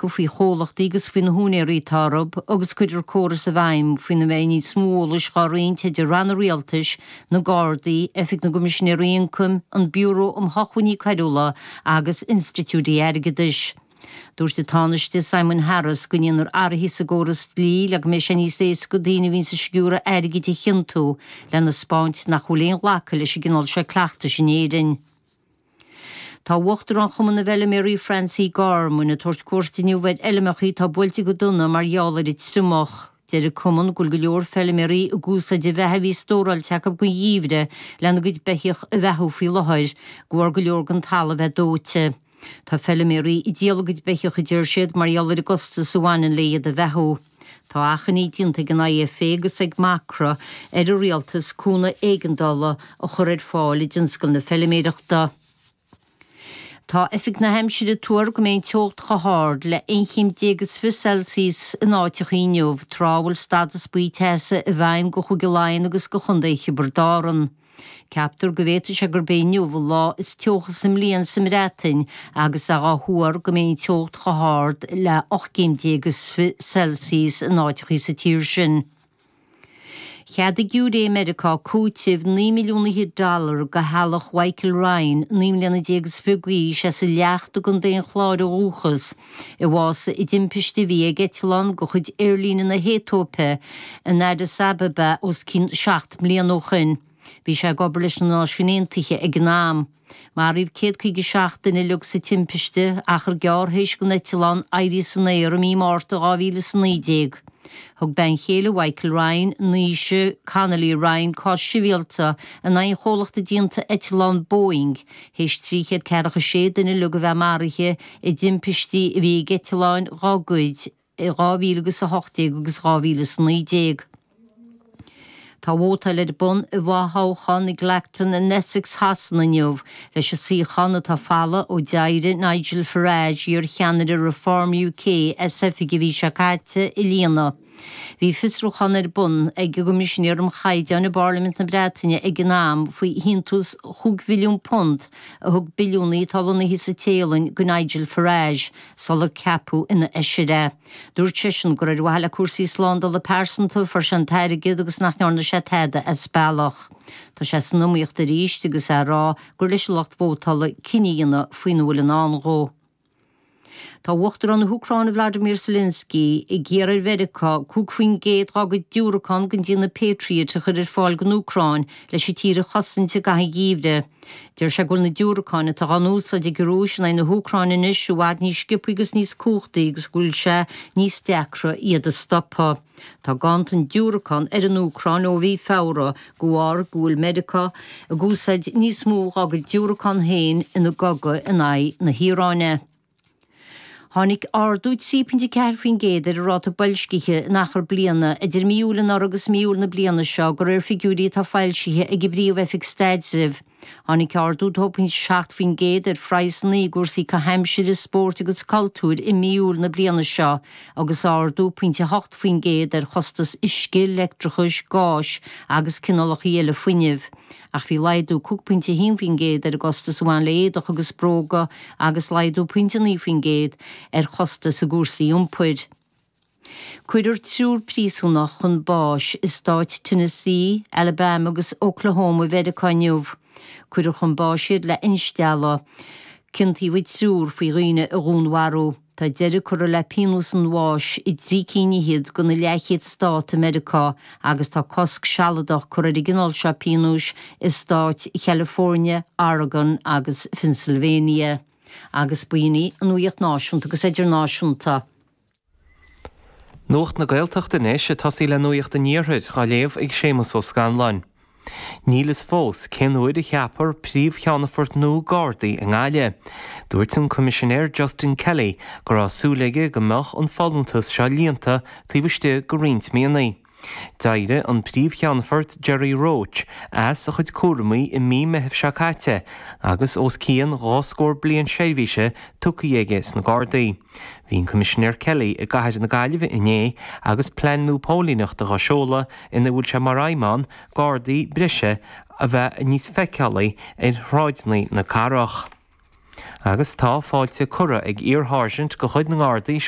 riosca faoi chomhlachtaí agus faoi na húinéirí atá orthu agus cuirfear córas i bhfeidhm faoina mbeidh níos mó eolais dhá roinnt idir ranna rialtais, na Gardaí, Oifig na gCoimisinéirí Ioncaim, an Biúró um Shócmhainní Coiriúla agus institiúidí airgeadais. Dúirt an Tánaiste Simon Harris go ndéanfar athruithe sa gcóras dlí le go mbeidh sé níos éasca daoine a bhíonns ag sciúradh airgid a chiontú lena 'spáint nach bhfuil aon ghlacadh leis an gcineál seo cleachtais in Éirinn. Tá Uachtarán Chumann na bhFeilméaraí Francie Gorman ag tabhairt cuairt inniu ar fheilmeacha atá buailte go dona mar gheall ar an triomach. Deir an cumann go bhfuil go leor feilméaraí ag úsáid an bheatha a bhí stóráilte acu don gheimhreadh lena gcuid beithíoch a bheathú faoi láthair, de bharr go leor den talamh bheith dóite. Tá feilméaraí ag díol a gcuid beithíoch a deir siad mar gheall ar an gcostas a bhaineann le iad a bheathú. Tá achainí déanta ag an IFA agus ag Macra ar an rialtas cúnamh éigeandála a chur ar fáil i dtionscal na feilméireachta. Tá Oifig na hAimsire ag tuar go mbeidh an teocht chomh hard le 11 chéim is 20 Celsius in áiteacha inniu, tráth a bhfuil stadas buí teasa i bhfeidhm go Chúige Laighean agus go Chontae Thiobraid Árann. Ceaptar go bhféadfadh sé gurb é inniu an lá is teocha sa mbliain sa mBreatain agus é dhá thuar go mbeidh an teocht chomh hard le 18 chéim is 20 Celsius in áiteacha sa tír sin. Cheadaigh giúiré i Meiriceá cúiteamh 9 milliún fhichead dollar do theaghlach Mhichael Ryan, 19 mbliana is 20 d'aois, as an Leacht i gContae an Chláir ó dhúchas, a bhásaigh i dtimpiste a bhí ag eitleán de chuid aerlíne na hAetóipe in Addis Ababa os cionn 7 mbliana ó shoin. Bhí sé ag obair leis na Náisiúin Aontaithe ag an am. Maraíodh 157 duine uilig sa timpiste, achar gearr théis don eitleán éirí san aer i mí Márta 2019. Thug bean chéile Mhichael Ryan, Naoise Connolly Ryan, cás sibhialta in aghaidh an chomhlachta déanta eitleán Boeing théis 346 duine uilig a bheith maraithe i dtimpistí a bhí ag eitleáin dá gcuid i 2018 agus 2019. Tá vótáil ar bun i bhfothoghchán i gClacton in Essex Shasana inniu leis an suíochán atá folamh ó d'éirigh Nigel Farage, iar-cheannaire Reform UK, as oifig an mhí seo caite, a líonadh. Bhí fiosrúchán ar bun ag an gCoimisinéir um Chaighdeáin i bParlaimint na Breataine ag an am faoi shíntiús chúig mhilliún punt a thug billiúnaí atá lonnaithe sa Téalainn go Nigel Farage sular ceapadh ina fheisire é. Dúirt seisean gur ar mhaithe le cúrsaí slándála pearsanta a fuair sé an t-airgead agus nach ndearna sé tada as bealach. Tá sé san iomaíocht arís agus é ag rá gur leis an lucht vótála cinneadh a dhéanamh faoina bhfuil i ndán dhó. Tá Uachtarán na hÚcráine Vladimir Zelensky ag iarraidh ar Mheiriceá 5% dá gcuid diúracán den déanamh Patriot a chur ar fáil don Úcráin leis an tír a chosaint i gcaitheamh an gheimhridh. Deir sé go bhfuil na diúracáin atá á n-úsáid ag an Rúis in aghaidh na hÚcráine anois i bhfad níos sciobthaí agus níos cumhachtaí agus go bhfuil sé níos deacra iad a stopadh. Tá ganntan diúracán ar an Úcráin ó mhí Feabhra de bharr go bhfuil Meiriceá ag úsáid níos mó dhá gcuid diúracán féin ina gcogadh in aghaidh na hIaráine. Tháinig ardú 3.4% ar an ráta boilscithe in achar bliana idir mí Iúil anuraidh agus mí Iúil na bliana seo, de réir figiúirí atá foilsithe ag an bPríomh-Oifig Staidrimh. Tháinig ardú 2.7% ar phraghsanna i gcúrsaí caitheamh aimsire, spóirt agus cultúir i mí Iúil na bliana seo agus ardú 0.8% ar chostas uisce, leictreachais, gáis agus cineálacha eile fuinnimh. Ach bhí laghdú 5.1% ar an gcostas a bhain le éadach agus bróga agus laghdú 0.9% ar chostais i gcúrsaí iompair. Cuirfear triúr príosúnach chun báis i stáit Tennessee, Alabama agus Oklahoma i Mheiriceá inniu. Cuirfear chun báis iad le instealladh. Ciontaíodh an triúr faoi dhaoine a dhúnmharú. Tá deireadh curtha le pionós an bháis i dtrí cinn fhichead de na leathchéad stát i Meiriceá agus tá cosc sealadach curtha ar an gcineál seo pionóis i stáit Chalifornia, Oregon agus Phennsylvania. Agus b'in í an nuacht náisiúnta agus idirnáisiúnta. Nuacht na Gaeltachta anois, ag tosaí le Nuacht an Iarthair, á léamh ag Séamus Ó Scanláin. Níl fhios fós cén uair a cheapfar Príomh-Cheannfort nua Gardaí i nGaillimh. Dúirt an Coimisinéir Justin Kelly go raibh súil aige go mbeadh an folúntas seo líonta taobh istigh de roinnt míonna. D'éirigh an Príomh-Cheannfort Gerry Roche as a chuid cúramaí i mí Meithimh seo caite agus os cionn dhá scór bliain seirbhíse tugtha aige sna Gardaí. Bhí an Coimisinéir Kelly i gcathair na Gaillimhe inné agus plean nua póilíneachta dhá seoladh ina bhfuil sé mar aidhm ann Gardaí breise a bheith níos feiceálaí ar shráideanna na cathrach. Agus tá fáilte curtha ag iar-sháirsint de chuid na nGardaí.